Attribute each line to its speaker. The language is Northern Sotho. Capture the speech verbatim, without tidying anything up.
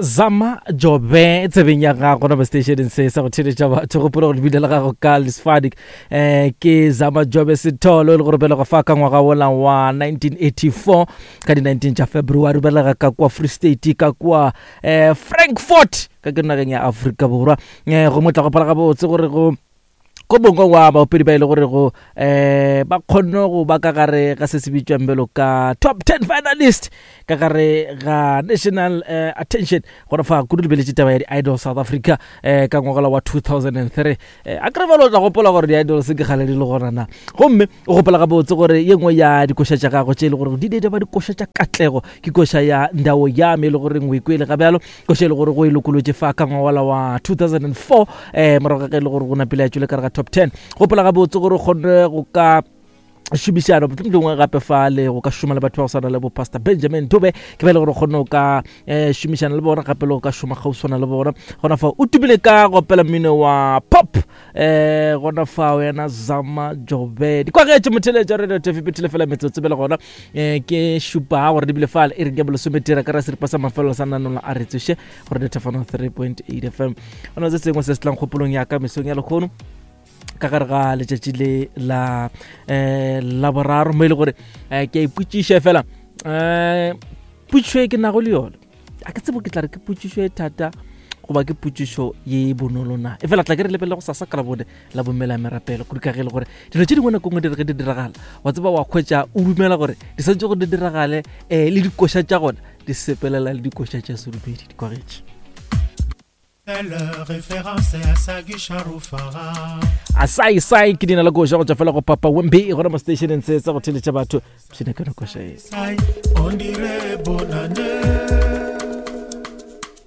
Speaker 1: Zama Jobe tsebeng ya gago gona mo stationeng se sa go theletša batho. Gopola gore lebile la gago ka Lesfadik um ke Zama Jobe Setholo, e le gore belega fa ka ngwaga wola wa nineteen eighty-four ka di nineteen tša February, belega ka kwa Free State, ka kwa um Frankfort, ka ke nageng ya Afrika Borwa. um go motla gopola gabotse gore go ko bongwe wa baopedi ba e le gore go um ba kgonne go ba ka gare ga se se bitswang bjalo ka top ten finalist ka gare ga national uh, attention gore fa kudu lebeletše taba ya di-Idol South Africa um ka ngwagala wa two thousand and three. um a kry balo o tla gopola gore di-Idols ke kgale di le gona na, gomme o gopola gabotse gore ye nngwe ya dikoša tša gago tše e le gore di di ba dikoša tša katlego ke koša ya Ndao Yame, e le goreng o ikwele ga bjalo, koša e le gore go e lokolotše fa ka ngwagala wa two thousand and four um morago ga ge e le gore go napile ya tšwele ka re ga top ten. Gopola gabotse gore o kgonne go ka šomišana mohlomongwe gape fa le go ka šoma le batho ba go swana le bo Pastor Benjamin Dube, ke ba e le gore o kgonne go ka um šomišana le bona gape le go ka šoma kgauswana le bona. Gona fa o tumile ka go opela mmino wa pop. um gona fa yena Zama Jobe dikwagetše motheletša Radio T F phethile fela metsotso bele gona um ke šupa gore di bile fale e reng ke bolesometera ka ra seripa sa mafelelo sa nanola a re tsoše go Radio Thefano three point eight F M. Gona se sengwe se se tlang kgopolong ya ka mesong ya lekgono ka gare ga letšatši le la um la boraro, mo e le gore um ke a ipotšiša fela um potšišo e ke nago le yone, a ke tsebo ke tla re ke potšišo e thata goba ke potšišo ye bonolo na, e fela tla ke re lebelele go sasa ka labone la bomela merapelo, kudu ka ge e le gore dilo tše dingwe nako nngwe di re ge di diragala wa tseba wa kgwetša o dumela gore di santse gore di diragale um le dikoša tša gona di sepelela le dikoša tša sedumedi dikwagetše. A sai sai ke dina la koša go tšwa fela go Papa Wemby gona mo stationeng se sa go theletša batho pshine ka koša e.
Speaker 2: On dirait bonne année.